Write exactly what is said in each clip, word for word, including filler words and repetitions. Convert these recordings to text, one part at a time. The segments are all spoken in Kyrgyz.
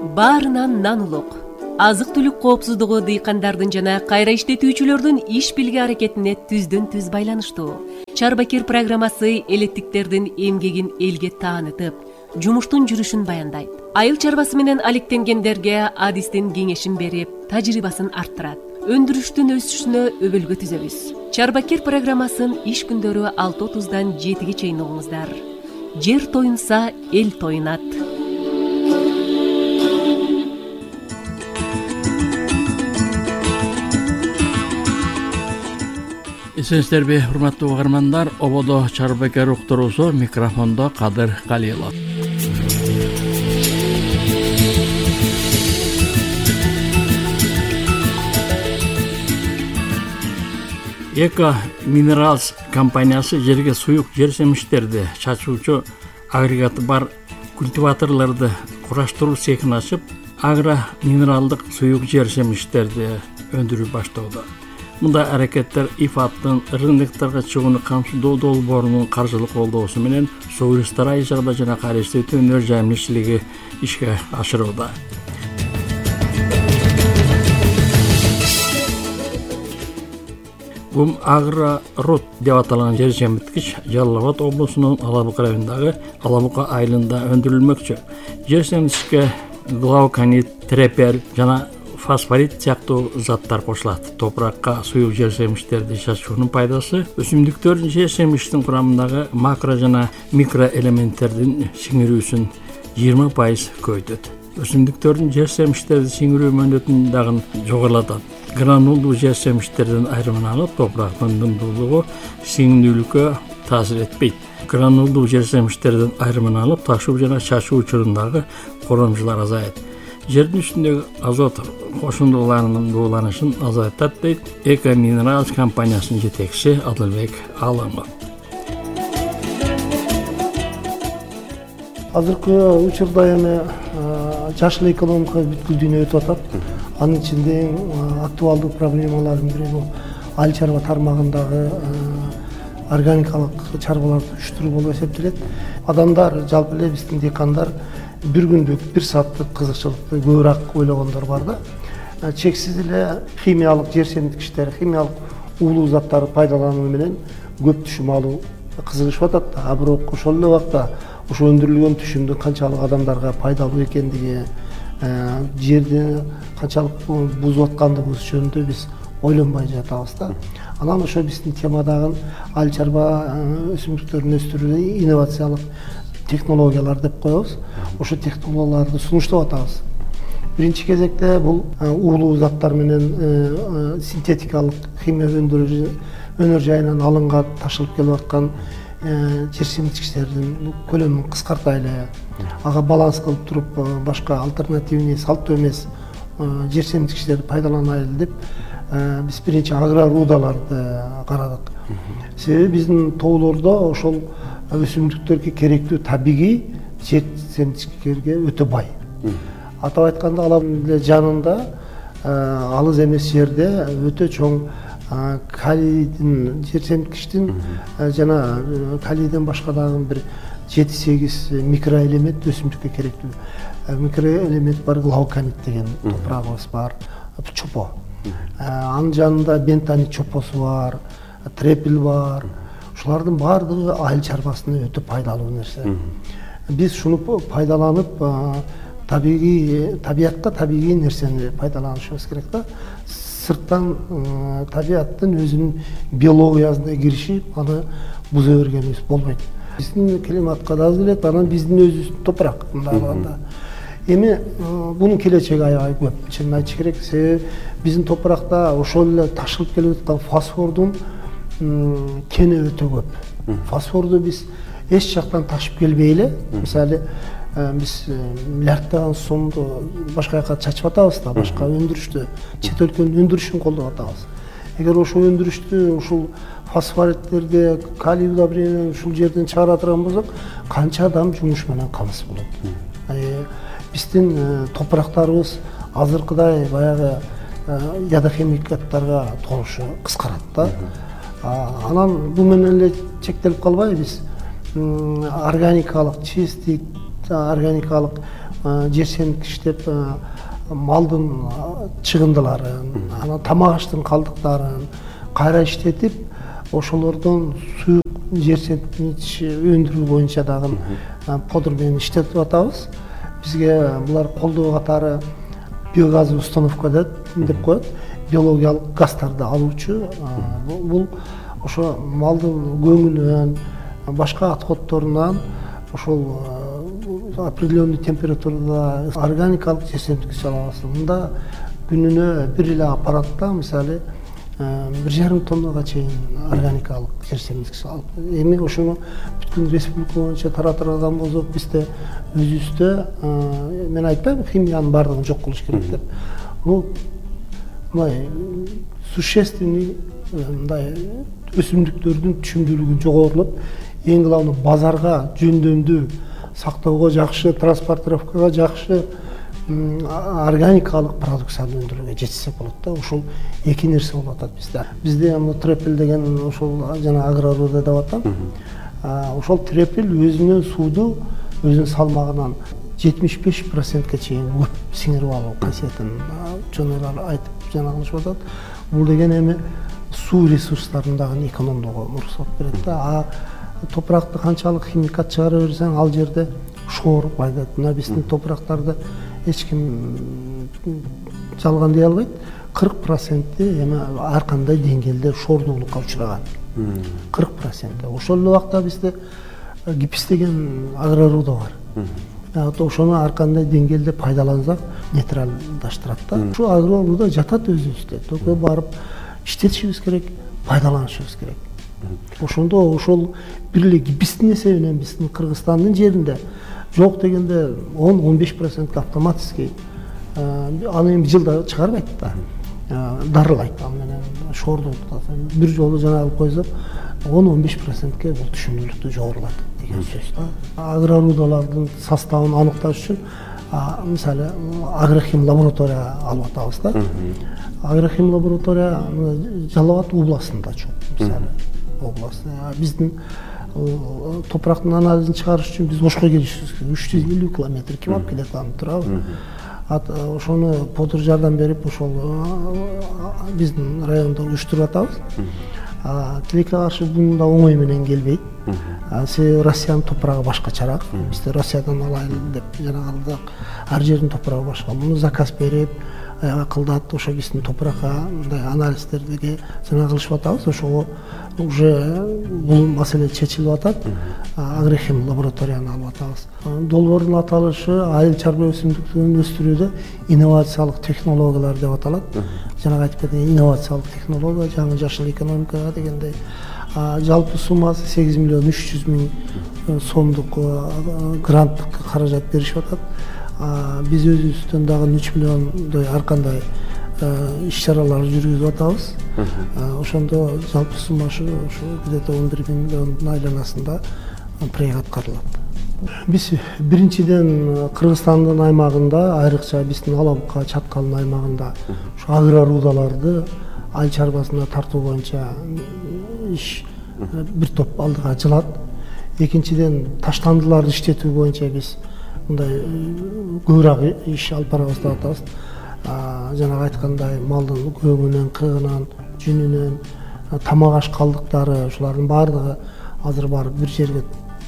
баарынан нан улук. Азык түлүк коопсуздугу дыйкандардын жана кайра иштетүүчүлөрдүн иш билги аракетине түздөн түз байланыштуу. Чарбакир программасы элеттиктердин эмгегин элге таанытып, жумуштун жүрүшүн баяндайт. Айыл чарбасы менен алектенгендерге адистин кеңешин берип, тажрыйбасын арттырат. Өндүрүштүн өсүшүнө өбөлгө түзөбүз. Чарбакир программасын иш күндөрү алты отуздан жетиге чейин угуңуздар. Жер тоюнса, эл тоюнат. Эсенсиздерби, урматтуу угармандар, ободо Чарбакир уктуруусу, микрофондо Кадыр Калилов. Эко Minerals компаниясы жерге суюк жер семиштерди чачуучу агрегаты бар культиваторлорду кураштыруу цехин ачып, агро минералдык суюк жер семиштерди өндүрүү баштоодо. Мындай аракеттер ИФАДтын рыноктарга чыгууну камсыздоо долбоорунун каржылык колдоосу менен суу ресурстары айжагында жана кайра иштетүү өнөр жайымчылыгы ишке ашырууда. Гум Агро-Рут деп аталган жер семирткич Жалал Абад облусунун Алабука районундагы Алабука айылында өндүрүлмөкчү. Жер семирткичке глауконит, трепер жана фосфорит сыяктуу заттар кошулат. Топуракка суюк жер семиштерди чачуунун пайдасы өсүмдүктөр жер семиштин курамындагы макро жана микро элементтердин сиңирүүсүн жыйырма пайыз көбөйтөт. Өсүмдүктөрдүн жер семиштерди сиңирүү мөөнөтүн дагы жогорулатат. Гранулдуу жер семиштердин айрымын алып, топурактын дымдуулугу сиңдүүлүккө таасир этпейт. Гранулдуу жер семиштердин айрымын алып, ташуу жана чачуу учурундагы коромжулар азайат. Жердин үстүндөгү азот кошундуларынын дууланышын азайтат дейт Эко Minerals компаниясынын жетекчиси Адылбек Алымов. Азыркы учурда эми жашыл экономика бүткүлдүүнө өтүп атат. Анын ичинде актуалдуу проблемалардын бири бул айыл чарба тармагындагы органикалык чарбаларды уюштуруу болуп эсептелет. Адамдар, жалпы эле биздин декандар бир күндүк, бир сааттык кызыкчылыкты көбүрөөк ойлогондор бар да. Чексиз эле химиялык жер семирткичтер, химиялык уулуу заттарды пайдалануу менен көп түшүм алуу кызыгышып атат. А бирок ошол эле убакта ошо өндүрүлгөн түшүмдүн канчалык адамдарга пайдалуу экендиги, жерди канчалык бузуп аткандыгыбыз жөнүндө биз ойлонбой жатабыз да. Анан ошо биздин темадагы айыл чарба өсүмдүктөрүн өстүрүүдө инновациялык технологиялар деп коебуз. Ошо технологияларды сунуштап атабыз. Биринчи кезекте бул уулуу заттар менен синтетикалык химия өндүрүү өнөр жайынан алынган, ташылып келип аткан жер семирткичтердин көлөмүн кыскартайлы, ага баланс кылып туруп, башка альтернативный, салттуу эмес жер семирткичтерди пайдаланайлы деп биз биринчи агро-рудаларды карадык. Себеби биздин тоолордо ошол өсүмдүктөргө керектүү табигый жер семирткичтерге өтө бай. Атап айтканда, Алабука жанында алыс эмес жерде өтө чоң калийдин, жер семирткичтин жана калийден башка дагы бир жети сегиз микроэлемент өсүмдүккө керектүү микроэлемент бар, глауконит деген топурагыбыз бар, чопо. Анын жанында бентонит чопосу бар, трепел бар. Ушулардын баардыгы айыл чарбасына өтө пайдалуу нерсе. Биз шуну пайдаланып, табигый табиятка табигый нерсени пайдаланышыбыз керек да. Сырттан табияттын өзүнүн биологиясына киришип, аны буза бергенибиз болбойт. Биздин климатка да келет, анан биздин өзүбүздүн топурак мындай алганда. Эми бунун келечеги аябай көп, чынын айтыш керек. Себеби биздин топуракта ошол эле ташылып келип аткан фосфордун кени өтө көп. Фосфорду биз эч жактан ташып келбей эле, мисалы биз миллиарддаган сомду башка жака чачып атабыз да, башка өндүрүштү, чет өлкөнүн өндүрүшүн колдоп атабыз. Эгер ошол өндүрүштү, ушул фосфориттерди, калий удобрениени ушул жерден чыгара турган болсок, канча адам жумуш менен камсыз болот. Биздин топурактарыбыз азыркыдай баягы ядохимикаттарга толушу кыскарат да. Анан бул менен эле чектелип калбай, биз органикалык чистый, органикалык жер семирткичтеп малдын чыгындыларын, анан тамак аштын калдыктарын кайра иштетип, ошолордон суук жер семирткич өндүрүү боюнча дагы подр менен иштетип атабыз. Бизге булар колдоо катары биогазовый установка деп коет. Биологиялык газдарды алуучу. Бул ошо малдын көңүнөн, башка отходторунан ошол определенный температурада органикалык жер семирткич алабыз. Мында күнүнө бир эле аппаратта мисалы бир жарым тоннага чейин органикалык жер семирткич алып. Эми ошону бүткүл республика боюнча таратырган болсок, бизде өзүбүздө, мен айтпайм химиянын баардыгын жок кылыш керек деп. Бул мындай существенный мындай өсүмдүктөрдүн түшүмдүүлүгү жогорулуп, эң главный базарга жөндөмдүү сактоого жакшы, транспортировкага жакшы органикалык продукцияны өндүрүүгө жетишсек болот да. Ошол эки нерсе болуп атат бизде. Бизде трепел деген ошол жана агроруда деп атам. Ошол трепел өзүнүн сууду өзүнүн салмагынан жетимиш беш процентке чейин көп сиңирип алуу касиетин ученыйлар айтып жана кылышып атат. Бул деген эми суу ресурстарын дагы экономдоого уруксат берет да. А топуракты канчалык химикат чыгара берсең, ал жерде шоор пайда. Мына биздин топурактарды эч ким жалган дей албайт. кырк проценти эми ар кандай деңгээлде шоордуулукка учураган. кырк проценти. Ошол эле убакта бизде гипс деген агроруда бар. Ошону ар кандай деңгээлде пайдалансак, нейтралдаштырат да. Ушу агроруда жатат өзүбүздө. Только барып иштетишибиз керек, пайдаланышыбыз керек. Ошондо ошол бир эле гипстин эсебинен биздин Кыргызстандын жеринде жок дегенде он он беш процентке автоматически аны эми жылда чыгарбайт да. Дарылайт ал менен шоордуулукта. Бир жолу жана алып койсок он он беш процентке бул түшүмдүүлүктү жогорулат деген сөз да. Агрорудалардын составын аныкташ үчүн мисалы агрохим лаборатория алып атабыз да. Агрохим лаборатория Жалал Абад областында чоң, мисалы область. Биздин топурактын анализин чыгарыш үчүн биз Ошко келишибиз керек. үч жүз элүү километр ким алып келет аны турабы. Ошону подр жардам берип, ошол биздин райондо уюштуруп атабыз. Тилекке каршы бунда оңой менен келбейт. Себеби Россиянын топурагы башкачараак. Бизде Россиядан алайын деп жана калдык. Ар жердин топурагы башка. Муну заказ берип, кылдат, ошо биздин топуракка мындай анализдерди жана кылышып атабыз. Ошого уже бул маселе чечилип атат. Агрохим лабораторияны алып атабыз. Долбоордун аталышы айыл чарба өсүмдүктөрүн өстүрүүдө инновациялык технологиялар деп аталат. Жана айтып кеткен инновациялык технология, жаңы жашыл экономикага дегендей. Жалпы суммасы сегиз миллион үч жүз миң сомдук гранттык каражат беришип атат. Биз өзүбүздөн дагы үч миллиондой ар кандай иш-чаралар жүргүзүп атабыз. Ошондо жалпы суммасы ошо где-то он бир миллиондун айланасында проект аткарылат. Биз биринчиден Кыргызстандын аймагында, айрыкча биздин Алабука, Чаткалдын аймагында ушу агрорудаларды айыл чарбасына тартуу боюнча иш бир топ алдыга жылат. Экинчиден таштандыларды иштетүү боюнча биз мындай көбүрөөк иш алып барабыз деп атабыз. Жана айткандай малдын көңүнөн, кыгынан, жүнүнөн, тамак аш калдыктары, ушулардын баардыгы азыр барып бир жерге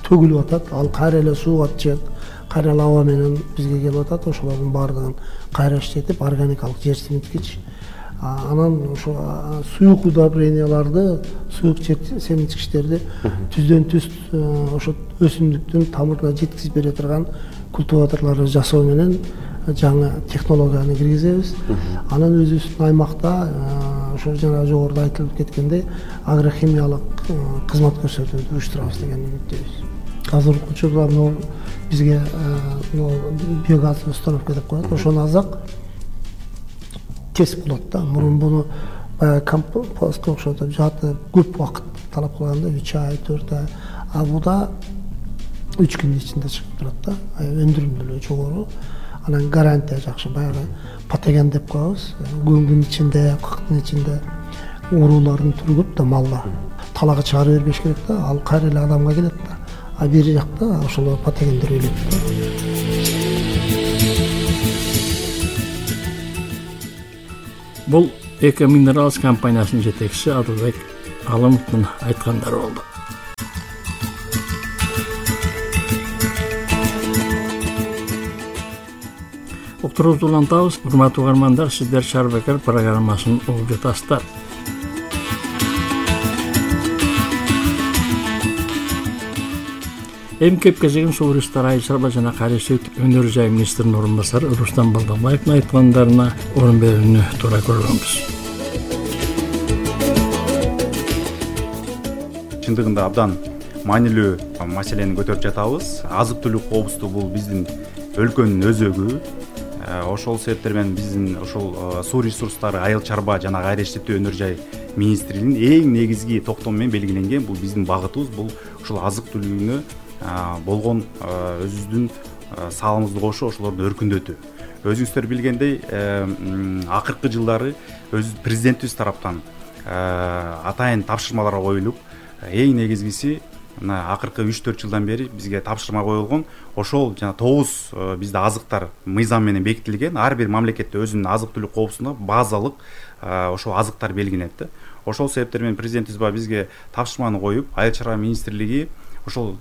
төгүлүп атат. Ал кайра эле сууга чыгып, кайра эле аба менен бизге келип атат. Ошолордун баардыгын кайра иштетип, органикалык жер семирткич. Анан ошо суук удобренияларды, суук жер семирткичтерди түздөн түз ошо өсүмдүктүн тамырына жеткизип бере турган культиваторлорду жасоо менен жаңы технологияны киргизебиз. Анан өзүбүздүн аймакта ошо жана жогоруда айтылып кеткендей агрохимиялык кызмат көрсөтүүнү уюштурабыз деген үмүттөбүз. Азыркы учурда бизге биогазовый установка деп коет. Ошону алсак тез болот да. Мурун буну баягы компостко окшотуп жатып көп убакыт талап кылганда үч ай, төрт ай. А буда үч күндүн ичинде чыгып турат да. Өндүрүмдүүлүгү жогору. Анан гарантия жакшы, баягы патоген деп коебуз. Көңдүн ичинде, кыктын ичинде уруулардын түрү көп да малда. Талага чыгарып бербеш керек да. Ал кайра эле адамга келет да. А бери жакта ошол патогендер өлөт да. Бул Эко Minerals компаниясынын жетекчиси Адылбек Алымовдун айткандары болду. Уктуруубузду улантабыз. Урматтуу угармандар, сиздер Шарбакер программасын угуп жатасыздар. Эми кеп кезегин суу ресурстары айыл чарба жана кайрылыш өнөр жай министринин орун басары Рустам Балданбаевдин айткандарына орун берүүнү туура көргөнбүз. Чындыгында абдан маанилүү маселени көтөрүп жатабыз. Азык-түлүк коопсуздугу бул биздин өлкөнүн өзөгү. Ошол себептер менен биздин ошол суу ресурстары айыл чарба жана кайра иштетүү өнөр жай министрлигинин эң негизги токтому менен белгиленген бул биздин багытыбыз, бул ошол азык-түлүгүнө болгон өзүбүздүн салымыбызды кошуп ошолорду өркүндөтүү. Өзүңүздөр билгендей, акыркы жылдары өз президентибиз тараптан атайын тапшырмалар коюлуп, эң негизгиси мына акыркы үч төрт жылдан бери бизге тапшырма коюлгон. Ошол жана тогуз бизде азыктар мыйзам менен бекитилген. Ар бир мамлекетте өзүнүн азык-түлүк коопсуздугуна базалык ошол азыктар белгиленет да. Ошол себептер менен президентибиз бизге тапшырманы коюп, айыл чарба министрлиги ошол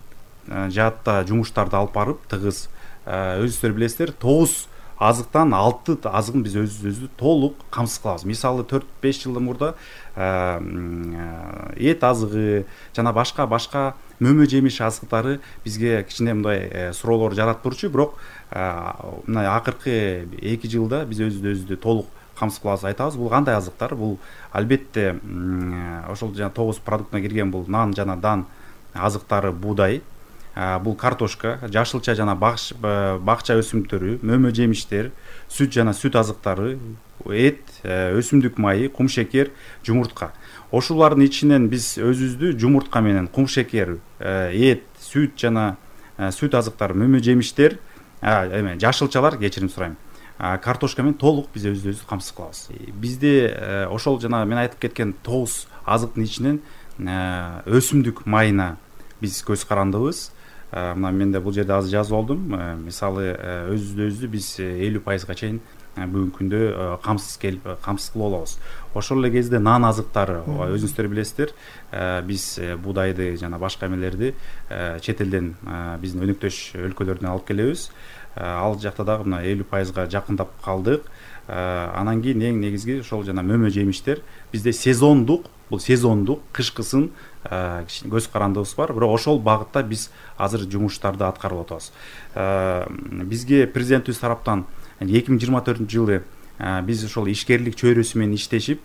жаатта жумуштарды алып барып, тыгыз өзүңүздөр билесиздер, тогуз азыктан алты азыгын биз өзүбүздү толук камсыз кылабыз. Мисалы төрт беш жылдан мурда эт азыгы жана башка башка мөмө жемиш азыктары бизге кичине мындай суроолор жаратып турчу, бирок мына акыркы эки жылда биз өзүбүздү өзүбүздү толук камсыз кылабыз айтабыз. Бул кандай азыктар? Бул албетте ошол жана тогуз продуктуна кирген бул нан жана дан азыктары, буудай, бул картошка, жашылча жана бакча өсүмдүктөрү, мөмө жемиштер, сүт жана сүт азыктары, эт, өсүмдүк майы, кумшекер, жумуртка. Ошолордун ичинен биз өзүбүздү жумуртка менен кумшекер, эт, сүт жана сүт азыктары, мөмө жемиштер, эме жашылчалар, кечирим сурайм, картошка менен толук биз өзүбүздү камсыз кылабыз. Бизде ошол жана мен айтып кеткен тогуз азыктын ичинен өсүмдүк майына биз көз карандыбыз. Мына мен да бул жерде азыр жазып алдым. Мисалы өзүбүздү өзүбүздү биз элүү пайызга чейин бүгүнкү күндө камсыз келип камсыз кылып алабыз. Ошол эле кезде нан азыктары, өзүңүздөр билесиздер, биз буудайды жана башка эмелерди чет элден биздин өнөктөш өлкөлөрдөн алып келебиз. Ал жакта дагы мына элүү пайызга жакындап калдык. Анан кийин эң негизги ошол жана мөмө жемиштер бизде сезондук, бул сезондук, кышкысын көз карандыбыз бар. Бирок ошол багытта биз азыр жумуштарды аткарып атабыз. Бизге президентибиз тараптан эки миң жыйырма төртүнчү жылы биз ошол ишкерлик чөйрөсү менен иштешип,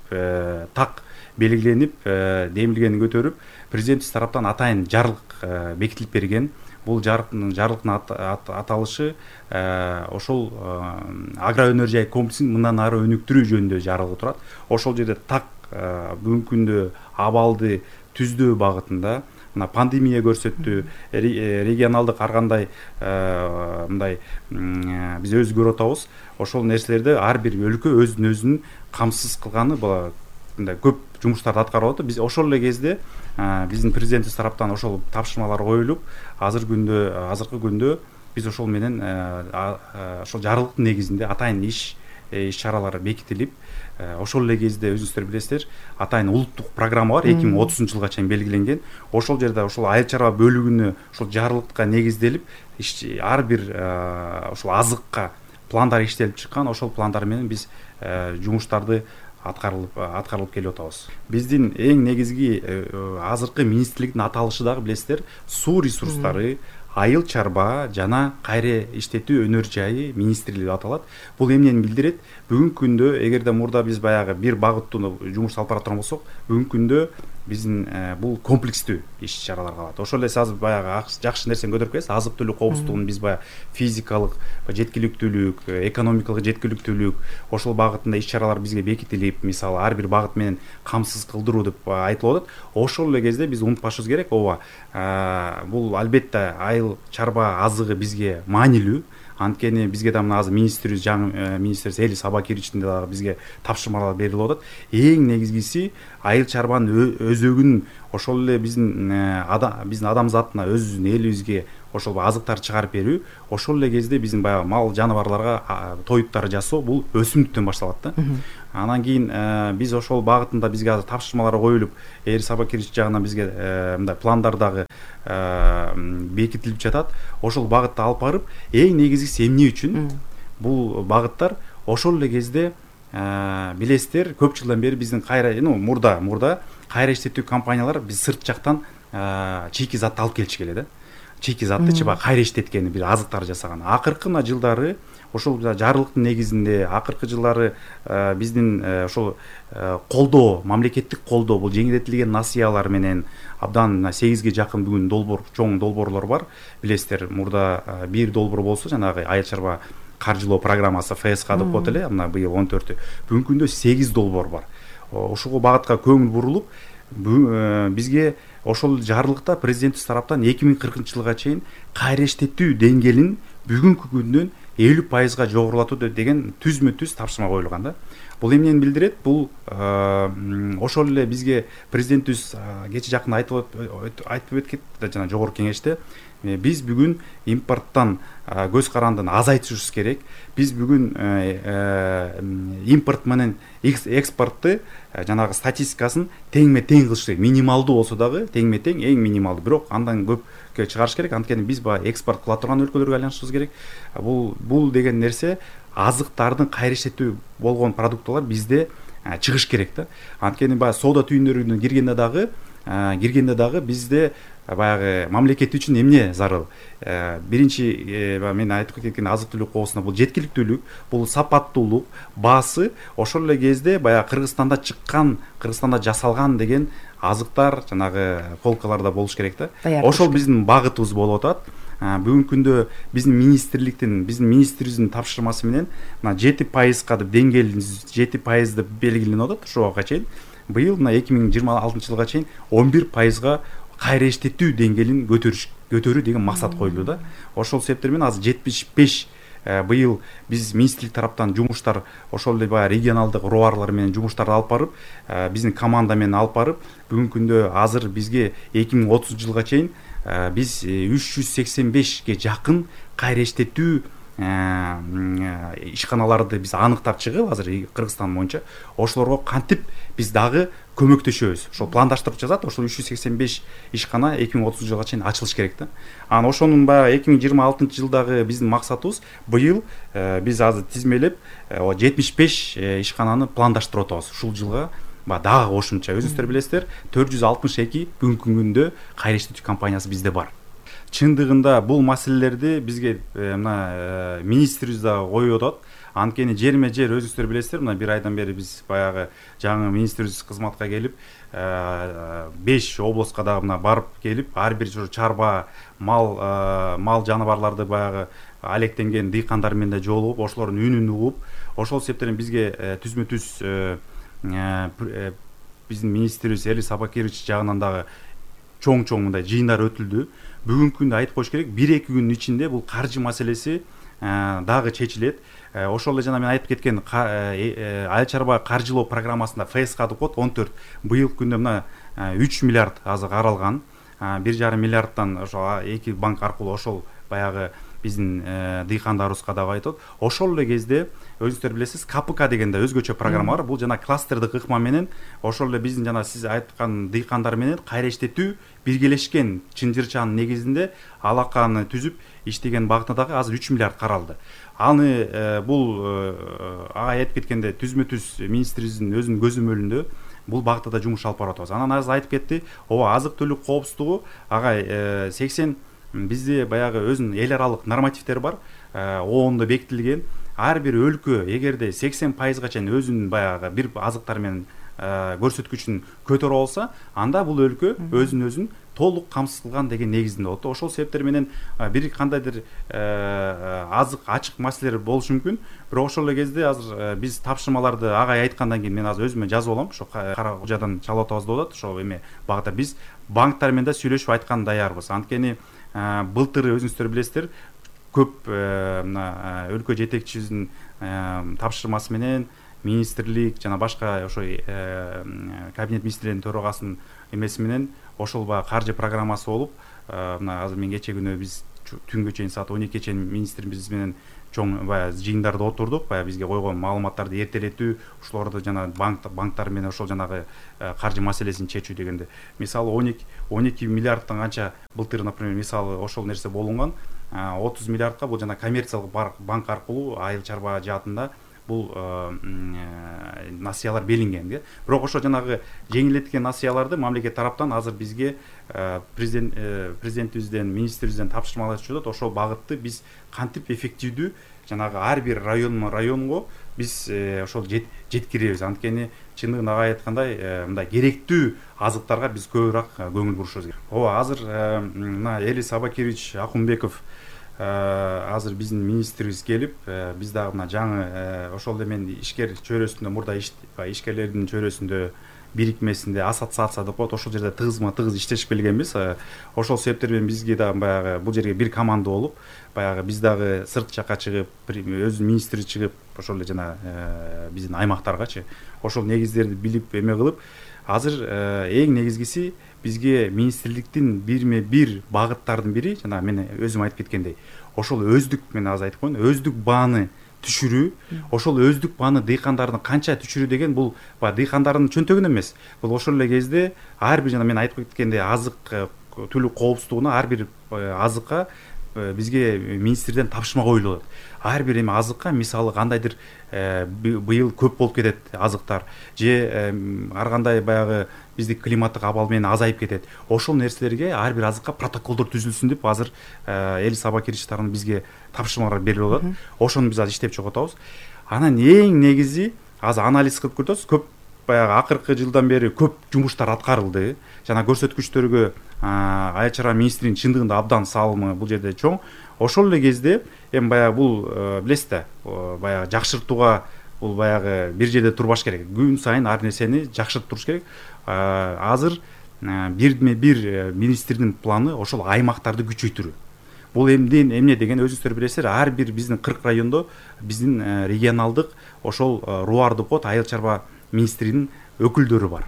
так белгиленип, демилгени көтөрүп, президентибиз тараптан атайын жарлык бекитилип берген. Бул жарлыктын аталышы ошол агро өнөр жай комплексин мындан ары өнүктүрүү жөнүндө жарлыгы турат. Ошол жерде так бүгүнкү күндө абалды түздөө багытында, мына пандемия көрсөттү, регионалдык ар кандай мындай биз өзү көрүп атабыз. Ошол нерселерди ар бир өлкө өзүн өзүн камсыз кылганы мындай көп жумуштарды аткарып атат. Биз ошол эле кезде биздин президентибиз тараптан ошол тапшырмалар коюлуп, азыр күндө азыркы күндө биз ошол менен ошол жарлыктын негизинде атайын иш иш чаралары бекитилип, ошол эле кезде өзүңүздөр билесиздер, атайын улуттук программа бар, эки миң отузунчу жылга чейин белгиленген. Ошол жерде ошол айыл чарба бөлүгүнө ошол жарлыкка негизделип, ар бир ошол азыкка пландар иштелип чыккан. Ошол пландар менен биз жумуштарды аткарылып аткарылып келип атабыз. Биздин эң негизги азыркы министрликтин аталышы дагы билесиздер, суу ресурстары, айыл чарба жана кайра иштетүү өнөр жайы министрлиги деп аталат. Бул эмнени билдирет? Бүгүнкү күндө эгерде мурда биз баягы бир багыттуу жумуш алып бара турган болсок, бүгүнкү күндө биздин бул комплекстүү иш чаралар калат. Ошол эле азыр баягы жакшы нерсени көтөрүп келесиз. Азык-түлүк коопсуздугун биз баягы физикалык жеткиликтүүлүк, экономикалык жеткиликтүүлүк ошол багытында иш чаралар бизге бекитилип, мисалы ар бир багыт менен камсыз кылдыруу деп айтылып атат. Ошол эле кезде биз унутпашыбыз керек, ооба, бул албетте айыл чарба азыгы бизге маанилүү. Анткени бизге да мына азыр министрибиз, жаңы министрибиз Элис Абакировичтин дагы бизге тапшырмалар берилип атат. Эң негизгиси айыл чарбанын өзөгүн ошол эле биздин биздин адам затына, өзүбүздүн элибизге ошол азыктарды чыгарып берүү, ошол эле кезде биздин баягы мал жаныбарларга тоюттар жасоо бул өсүмдүктөн башталат да. Анан кийин биз ошол багытында бизге азыр тапшырмалар коюлуп, Эл Сабакирович жагынан бизге мындай пландар дагы бекитилип жатат. Ошол багытта алып барып, эң негизгиси эмне үчүн бул багыттар ошол эле кезде билесиздер, көп жылдан бери биздин кайра, ну, мурда, мурда кайра иштетүү компаниялар биз сырт жактан чийки затты алып келишкеле да. Чийки затты чыба кайра иштеткени, бир азыктар жасаган. Акыркы мына жылдары ошол жарлыктын негизинде акыркы жылдары биздин ошол колдоо, мамлекеттик колдоо, бул жеңилдетилген насыялар менен абдан сегизге жакын бүгүн долбоор, чоң долбоорлор бар. Билесиздер, мурда бир долбоор болсо, жанагы айыл чарба каржылоо программасы эф эс ка деп коет эле, мына быйыл он төртү. Бүгүнкү күндө сегиз долбоор бар. Ошого багытка көңүл бурулуп, бизге ошол жарлыкта президентибиз тараптан эки миң кыркынчы жылга чейин кайра иштетүү деңгээлин бүгүнкү күндөн элүү пайызга жогорулатуу деген түзмө түз тапшырма коюлган да. Бул эмнени билдирет? Бул ошол эле бизге президентибиз кече жакында айтып айтып өткөн жана жогорку кеңеште биз бүгүн импорттон көз карандыны азайтышыбыз керек. Биз бүгүн импорт менен экспортты жанагы статистикасын теңме тең кылыш керек. Минималдуу болсо дагы теңме тең, эң минималдуу, бирок андан көпкө чыгарыш керек. Анткени биз баягы экспорт кыла турган өлкөлөргө айланышыбыз керек. Бул бул деген нерсе азыктардын кайра иштетүү болгон продуктылар бизде чыгыш керек да. Анткени баягы соода түйүндөрүнө киргенде дагы киргенде дагы бизде баягы мамлекет үчүн эмне зарыл? Биринчи мен айтып кеткен азык түлүк коосуна бул жеткиликтүүлүк, бул сапаттуулук, баасы ошол эле кезде баягы Кыргызстанда чыккан, Кыргызстанда жасалган деген азыктар жанагы полкаларда болуш керек да. Ошол биздин багытыбыз болуп атат. Бүгүнкү күндө биздин министрликтин, биздин министрибиздин тапшырмасы менен мына жети пайызга деп деңгээлин жети пайыз деп белгиленип атат ошол убакка чейин. Быйыл мына эки миң жыйырма алтынчы жылга чейин он бир пайызга кайра иштетүү деңгээлин көтөрүш көтөрүү деген максат коюлду да. Ошол себептер менен азыр жетимиш беш быйыл биз министрлик тараптан жумуштар ошол эле баягы регионалдык роварлар менен жумуштарды алып барып, биздин команда менен алып барып, бүгүнкү күндө азыр бизге эки миң отузунчу жылга чейин биз үч жүз сексен бешке жакын кайра иштетүү ишканаларды биз аныктап чыгып, азыр Кыргызстан боюнча ошолорго кантип биз дагы көмөктөшөбүз. Ошол пландаштырып жазат, ошол үч жүз сексен беш ишкана эки миң отузунчу жылга чейин ачылыш керек да. Анан ошонун баягы эки миң жыйырма алтынчы жылдагы биздин максатыбыз быйыл биз азыр тизмелеп жетимиш беш ишкананы пландаштырып атабыз. Ушул жылга дагы кошумча, өзүңүздөр билесиздер, төрт жүз алтымыш эки бүгүнкү күндө кайра иштетүү компаниясы бизде бар. Чындыгында бул маселелерди бизге мына министрибиз дагы коюп атат. Анткени жерме жер өзүңүздөр билесиздер, мына бир айдан бери биз баягы жаңы министрибиз кызматка келип, беш областка дагы мына барып келип, ар бир чарба мал мал жаныбарларды баягы алектенген дыйкандар менен да жолугуп, ошолордун үнүн угуп, ошол себептен бизге түзмө түз биздин министрибиз Эл Сабакирович жагынан дагы чоң-чоң мындай жыйындар өтүлдү. Бүгүнкү күндө айтып коюш керек, бир эки күндүн ичинде бул каржы маселеси дагы чечилет. Ошол эле жана мен айтып кеткен айыл чарба каржылоо программасында эф эс ка деп коет он төрт. Быйылкы күндө мына үч миллиард азыр каралган. бир жарым миллиардтан ошо эки банк аркылуу ошол баягы биздин дыйкандарыбызга дагы айтат. Ошол эле кезде өзүңүздөр билесиз, ка пэ ка деген да өзгөчө программа бар. Бул жана кластердик ыкма менен ошол эле биздин жана сиз айткан дыйкандар менен кайра иштетүү биргелешкен чынжырчанын негизинде алаканы түзүп иштеген багытына дагы азыр үч миллиард каралды. Аны бул ага айтып кеткенде түзмө түз министрибиздин өзүнүн көзөмөлүндө бул багытта да жумуш алып барып атабыз. Анан азыр айтып кетти, ооба азык түлүк коопсуздугу ага сексен бизде баягы өзүнүн эл аралык нормативдери бар, оонда бекитилген. Ар бир өлкө эгерде сексен пайызга чейин өзүнүн баягы бир азыктар менен көрсөткүчүн көтөрө алса, анда бул өлкө өзүн өзүн толук камсыз кылган деген негизинде болот. Ошол себептер менен бир кандайдыр азык ачык маселелер болушу мүмкүн. Бирок ошол эле кезде азыр биз тапшырмаларды агай айткандан кийин мен азыр өзүмө жазып алам. Ошо кара кожадан чалып атабыз деп атат. Ошо эме багытта биз банктар менен да сүйлөшүп айткан даярбыз. Анткени былтыр өзүңүздөр билесиздер, көп мына өлкө жетекчибиздин тапшырмасы менен министрлик жана башка ошо кабинет министрлеринин төрагасынын эмеси менен ошол баягы каржы программасы болуп, мына азыр мен кече күнү биз түнгө чейин саат он экиге чейин министрибиз менен чоң баягы жыйындарда отурдук, баягы бизге койгон маалыматтарды эртелетүү, ошолорду жана банк банктар менен ошол жанагы каржы маселесин чечүү дегенде, мисалы он эки миллиардтан канча былтыр, например, мисалы ошол нерсе болунган, отуз миллиардка бул жана коммерциялык банк аркылуу айыл чарба жаатында бул насыялар белинген. Бирок ошо жанагы жеңилдеткен насыяларды мамлекет тараптан азыр бизге президент президентибизден, министрибизден тапшырмалар түшүп атат. Ошол багытты биз кантип эффективдүү жанагы ар бир районмо районго биз ошол жеткиребиз. Анткени чындыгын ага айткандай, мындай керектүү азыктарга биз көбүрөөк көңүл бурушубуз керек. Ооба, азыр мына Элис Абакирович Акунбеков азыр биздин министрибиз келип, биз дагы мына жаңы ошол эмен ишкер чөйрөсүндө, мурда ишкерлердин чөйрөсүндө бирикмесинде ассоциация деп коет, ошол жерде тыгызма тыгыз иштешип келгенбиз. Ошол себептер менен бизге дагы баягы бул жерге бир команда болуп, баягы биз дагы сырт жакка чыгып, өзү министр чыгып, ошол эле жана биздин аймактаргачы ошол негиздерди билип эме кылып, азыр эң негизгиси бизге министрликтин бирме бир багыттардын бири, жана мен өзүм айтып кеткендей, ошол өздүк, мен азыр айтып коеюн, өздүк бааны түшүрүү. Ошол өздүк бааны дыйкандардын канча түшүрүү деген бул дыйкандардын чөнтөгүнө эмес. Бул ошол эле кезде ар бир, жана мен айтып кеткендей, азык түлүк коопсуздугуна, ар бир азыкка бизге министрден тапшырма коюлуп атат. Ар бир эме азыкка, мисалы кандайдыр быйыл көп болуп кетет азыктар, же ар кандай баягы биздик климаттык абал менен азайып кетет. Ошол нерселерге ар бир азыкка протоколдор түзүлсүн деп азыр Элис Абакирович тарабынан бизге тапшырмалар берилип атат. Ошону биз азыр иштеп чыгып атабыз. Анан эң негизи азыр анализ кылып көрөбүз. Көп баягы акыркы жылдан бери көп жумуштар аткарылды. Жана көрсөткүчтөргө айыл чарба министринин чындыгында абдан салымы бул жерде чоң. Ошол эле кезде эми баягы бул билесиз да, баягы жакшыртууга бул баягы бир жерде турбаш керек. Күн сайын ар нерсени жакшыртып туруш керек. Азыр бирме бир министрдин планы ошол аймактарды күчөйтүү. Бул эмден эмне деген өзүңүздөр билесиздер, ар бир биздин кырк райондо биздин регионалдык ошол руар деп коет, айыл чарба министринин өкүлдөрү бар.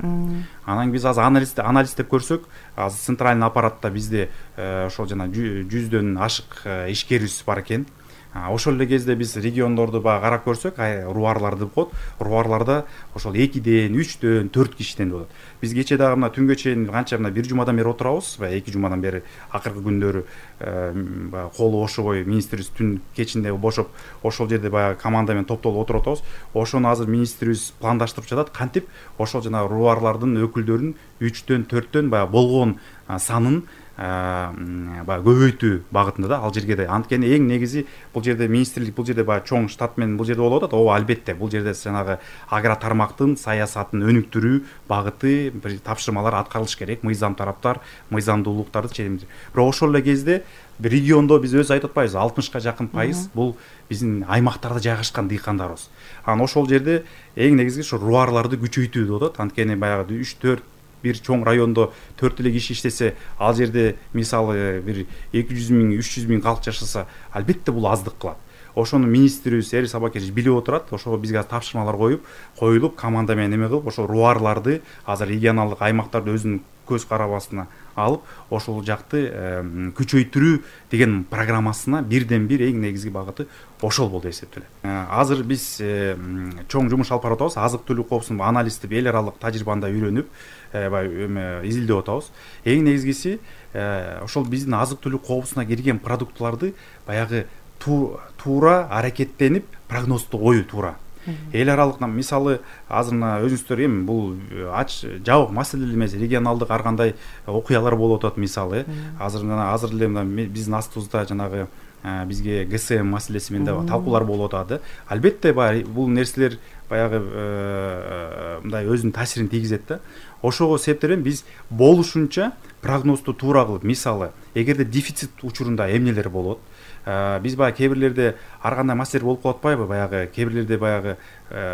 Анан биз азыр анализ анализдеп көрсөк, азыр центральный аппаратта бизде ошол жана жүздөн ашык ишкерибиз бар экен. Ошол эле кезде биз региондорду баягы карап көрсөк, руарларды деп коет, руарларда ошол экиден, үчтөн, төрт кишиден болот. Биз кече дагы мына түнгө чейин канча мына бир жумадан бери отурабыз, баягы эки жумадан бери акыркы күндөрү баягы колу бошобой министрибиз түн кечинде бошоп, ошол жерде баягы команда менен топтолуп отуруп атабыз. Ошону азыр министрибиз пландаштырып жатат, кантип ошол жана руарлардын өкүлдөрүн үчтөн, төрттөн баягы болгон санын баягы көбөйтүү багытында да ал жерге да. Анткени эң негизи бул жерде министрлик, бул жерде баягы чоң штат менен бул жерде болуп атат. Ооба, албетте бул жерде жанагы агро тармактын саясатын өнүктүрүү багыты бир тапшырмалар аткарылыш керек. Мыйзам тараптар, мыйзамдуулуктарды чечимдир. Бирок ошол эле кезде бир региондо биз өзү айтып атпайбыз, алтымышка жакын пайыз бул биздин аймактарда жайгашкан дыйкандарыбыз. Анан ошол жерде эң негизги ошо руарларды күчөйтүү деп атат. Анткени баягы үч төрт бир чоң райондо төрт эле киши иштесе, ал жерде мисалы бир эки жүз миң, үч жүз миң калк жашаса, албетте бул аздык кылат. Ошону министрибиз Элис Абакирович билип отурат. Ошого бизге тапшырмалар коюп, коюлуп, команда менен эме кылып, ошо руарларды азыр регионалдык аймактарды өзүнүн көз карабасына алып, ошол жакты күчөйтүрүү деген программасына бирден бир эң негизги багыты ошол болду деп эсептелет. Азыр биз чоң жумуш алып барып атабыз. Азык-түлүк коопсуздугун анализдеп, эл аралык тажрыйбаны изилдеп, изилдеп атабыз. Эң негизгиси ошол биздин азык-түлүк коопсуздугуна кирген продуктларды баягы туура аракеттенип прогнозду коюу туура. Эл аралык мисалы азыр мына өзүңүздөр эми бул ач жабык маселе эмес, регионалдык ар кандай окуялар болуп атат мисалы. Азыр мына азыр эле мына биздин астыбызда жанагы бизге ГСМ маселеси менен да талкуулар болуп атат. Албетте бул нерселер баягы мындай өзүнүн таасирин тийгизет да. Ошого себептен биз болушунча прогнозду туура кылып, мисалы эгерде дефицит учурунда эмнелер болот, биз баягы кээ бирлерде ар кандай маселе болуп калып атпайбы, баягы кээ бирлерде баягы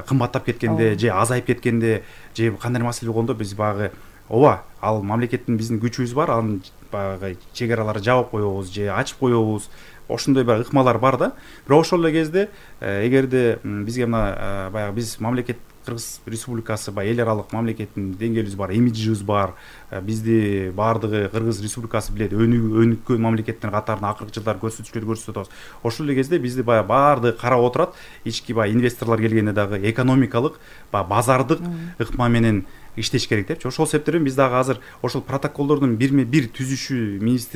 кымбаттап кеткенде же азайып кеткенде же кандай маселе болгондо биз баягы ооба, ал мамлекеттин биздин күчүбүз бар, анын баягы чек араларын жаап коебуз же ачып коебуз. ошондой баягы ыкмалар бар да. Бирок ошол эле кезде эгерде бизге мына баягы биз мамлекет Кыргыз Республикасы баягы эл аралык мамлекеттин деңгээлибиз бар, имиджибиз бар. Бизди баардыгы Кыргыз Республикасы билет, өнүккөн мамлекеттер катарына акыркы жылдары көрсөтүчүлөр көрсөтүп атабыз. Ошол эле кезде бизди баягы баардыгы карап отурат. Ички баягы инвесторлор келгенде дагы экономикалык, баягы базардык ыкма менен иштеш керек депчи. Ошол себептен биз дагы азыр ошол протоколдордун бирме бир түзүшү министр